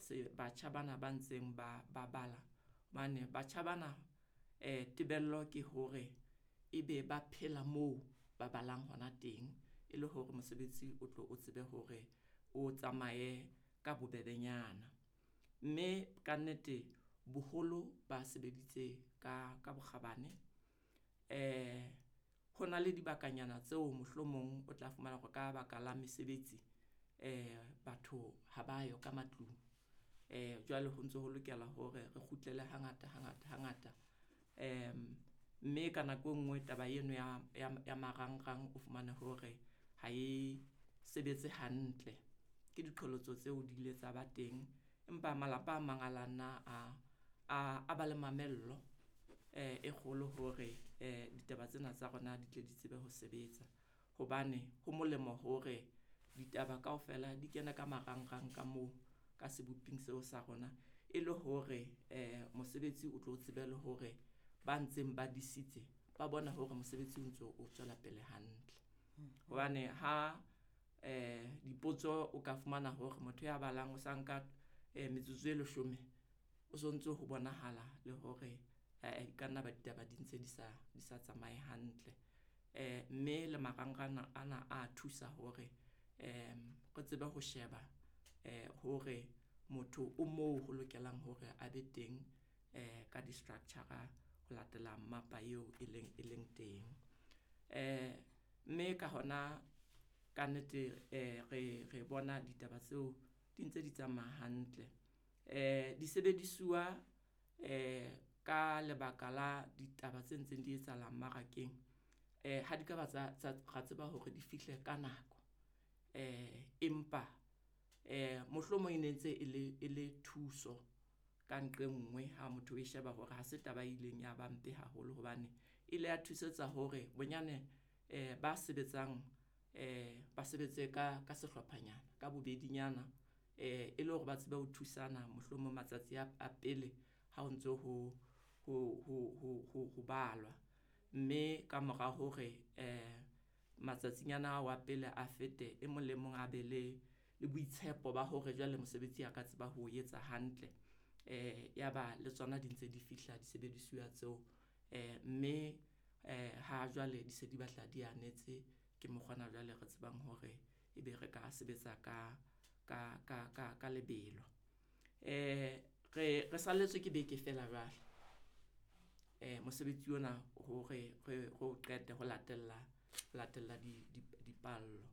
Se batjha bana ba ntseng ba ba bala hobane batjha bana tebello ke hore ebe ba phela moo ba balang hona teng, e le hore mosebetsi o tlo o tsebe hore o tsamaye ka bobebenyana. Mme ka nnete boholo ba sebeditse ka bokgabane. Ho na le dibakanyana tseo mohlomong o tla fumana hore ka baka la mesebetsi batho ha ba yo ka matlung. Jwale ho ntso ho lokela hore re kgutlele hangata hangata hangata. Mme ka nako e nngwe taba eno ya marangrang o fumane hore ha e sebetse hantle. Ke diqholotso tseo di ile tsa ba teng, empa malapa a mang a la nna a ba le mamello e kgolo hore ditaba tsena tsa rona di tle di tsebe ho sebetsa. Hobane ho molemo hore ditaba kaofela di kene ka marangrang ka moo ka seboping seo sa rona, e le hore mosebetsi o tlo tsebe le hore ba ntseng ba disitse ba bona hore mosebetsi o ntso o tswela pele hantle. Hobane ha dipotso o ka fumana hore motho ya balang o sa nka metsotso e leshome, o sontso ho bonahala le hore ka nna ba ditaba di ntse di sa tsamaye hantle. Mme le marangrang ana a thusa hore re tsebe ho sheba hore motho o moo ho lokelang hore a be teng ka di-structure ho latela mmapa eo e leng teng. Mme ka hona ka nnete re bona ditaba tseo di ntse di tsamaya hantle. Disebedisuwa ka lebaka la ditaba tse ntseng di etsahala mmarakeng, ha di ka ba tsa ra tseba hore di fihle ka nako. Empa mohlomong e ne ntse e le thuso ka nqe nngwe ha motho o e sheba hore ha se taba e ileng ya ba mpe haholo hobane e ile ya thusetsa hore bonyane ba sebetsang ba sebetse ka sehlophanyana ka bobedinyana, e le hore ba tsebe ho thusana mohlomong matsatsi a pele ha o ntso ho balwa. Mme ka mora hore matsatsinyana ao a pele a fete, e mong le mong a be le boitshepo ba hore jwale mosebetsi a ka tseba ho etsa hantle. Yaba le tsona di ntse di fihla disebedisuwa tseo, mme ha jwale di se di batla di anetse ke mokgwa ona jwale re tsebang hore ebe re ka sebetsa ka lebelo. Re salletswe ke beke feela jwale. Mosebetsi ona hore re o qete ho latella dipallo.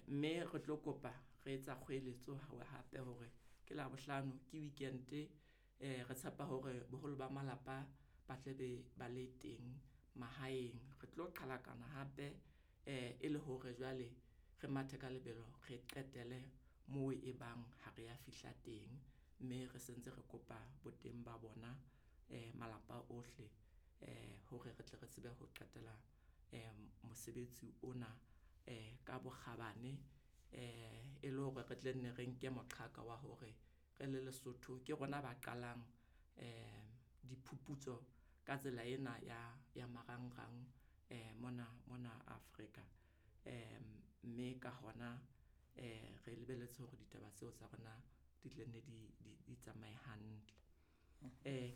Mme re tlo kopa re etsa kgoeletso hape hore ke Labohlano ke weekend, re tshepa hore boholo ba malapa ba tle be ba le teng mahaeng. Re tlo qhalakana hape e le hore jwale re mathe ka lebelo, re qetele moo e bang ha re ya fihla teng, mme re sentse re kopa boteng ba bona malapa ohle hore re tle re tsebe ho qetela mosebetsi ona ka bokgabane, e le hore re tle nne re nke moqhaka wa hore re le Lesotho ke rona ba qalang diphuputso ka tsela ena ya marangrang mona Afrika. Mme ka hona re lebelletse hore ditaba tseo tsa rona di tle nne di tsamaye hantle.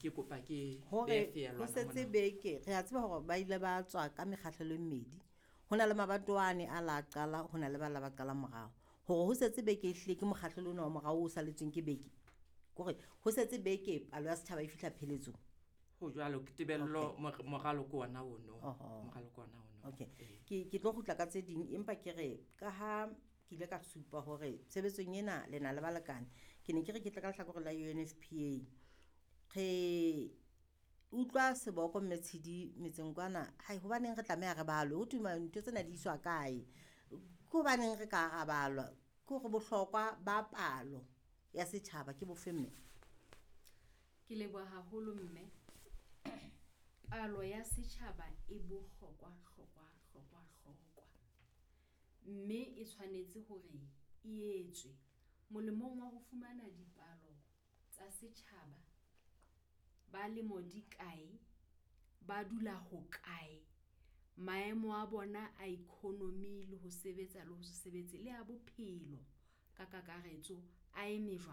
Ke kopa ke hore ho setse beke, re a tseba hore ba ile ba tswa ka mekgahlelo e mmedi. Ho na le mabatowane a la qala, ho na le ba la ba qala morao. Hore ho setse beke ehlile ke mokgahlelo ona wa morao o saletsweng ke beke. Kore ho setse beke palo ya setjhaba e fihla pheletsong. Ho jwalo, ke tebello moralo ke ona ono. Moralo ke ona ono. Okay. Ke tlo kgutla ka tse ding, empa ke re ka ha ke ile ka supa hore tshebetsong ena le na le balekane, ke ne ke re ke tle ka lehlakore la UNFPA. Re utlwa seboko mme Tshidi metseng kwana, hai hobaneng re tlameha re balwe, ho thwe ntho tsena di iswa kae? Ke hobaneng re ka ra balwa? Ke hore bohlokwa ba palo ya setjhaba ke bofe mme? Ke leboha haholo mme. Palo ya setjhaba e bohlokwa hlokwa hlokwa hlokwa. Mme e tshwanetse hore e etswe molemong wa ho fumana dipalo tsa setjhaba ba lemo di kae, ba dula ho kae, maemo a bona a economy le ho sebetsa le ho se sebetse le a bophelo ka kakaretso a eme jwang.